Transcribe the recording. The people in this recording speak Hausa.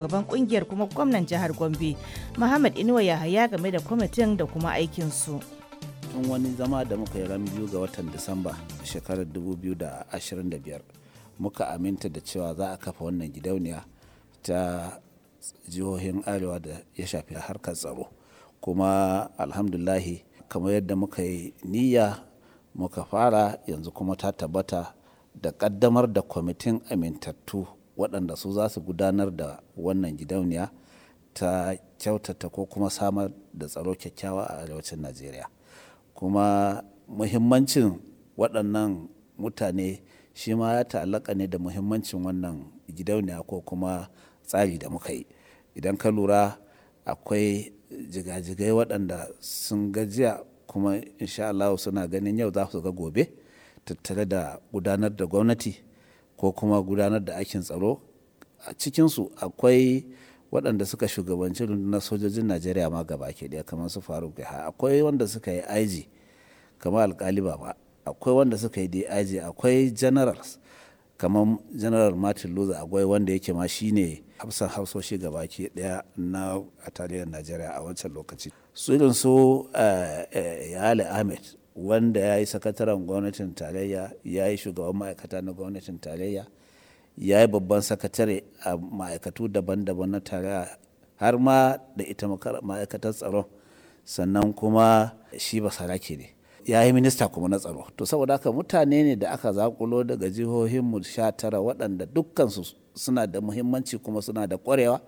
Shugaban kungiyar kuma gwamnan jihar Gombe, Muhammad Inuwa Yahaya, game da kwamitin da kuma aikinsu. Tun wani zama da muka yi ran 2 ga watan Disamba shekarar 2025 muka aminta da cewa za a kafa wannan gidauniya ta jihohin Arewa da ya shafi harkar tsaro. Kuma alhamdulahi, kamar yadda muka yi niyya muka fara, yanzu kuma ta tabbata da ƙaddamar da kwamitin amintattu waɗanda su za su gudanar da wannan gidauniya ta kyautata ko kuma samar da tsaro kyakkyawa a arewacin Najeriya. Kuma muhimmancin waɗannan mutane shi ma ya ta'allaka ne da muhimmancin wannan gidauniya ko kuma tsari da muka yi. Idan ka lura, akwai jigajigai waɗanda sun gajiya kuma insha Allah suna ganin yau za su ga gobe tattare da gudanar da gwamnati ko kuma gudanar da aikin tsaro. A cikinsu akwai waɗanda suka shugabanci rundunar sojojin Najeriya ma gaba ke ɗaya, kamar su Faruk Yahaya. Akwai wanda suka yi IG kamar Alkali Baba. Akwai wanda suka yi DIG. Akwai generals kamar General Martin Luther Agwai, wanda yake ma shine hafsan hafsoshi gaba ke ɗaya na a tarayyar Najeriya a wancan lokaci. Su irin su Yale Ahmed, wanda ya yi sakataren gwamnatin tarayya, ya yi shugaban ma'aikata na gwamnatin tarayya, ya yi babban sakatare a ma'aikatu daban-daban na tarayya, har ma da ita ma'aikatar tsaron. Sannan kuma shi basarake ne, ya yi minista kuma na tsaro. To, saboda haka mutane ne da aka zakulo daga jihohinmu 19 waɗanda dukkansu suna da muhimmanci kuma suna da ƙwarewa.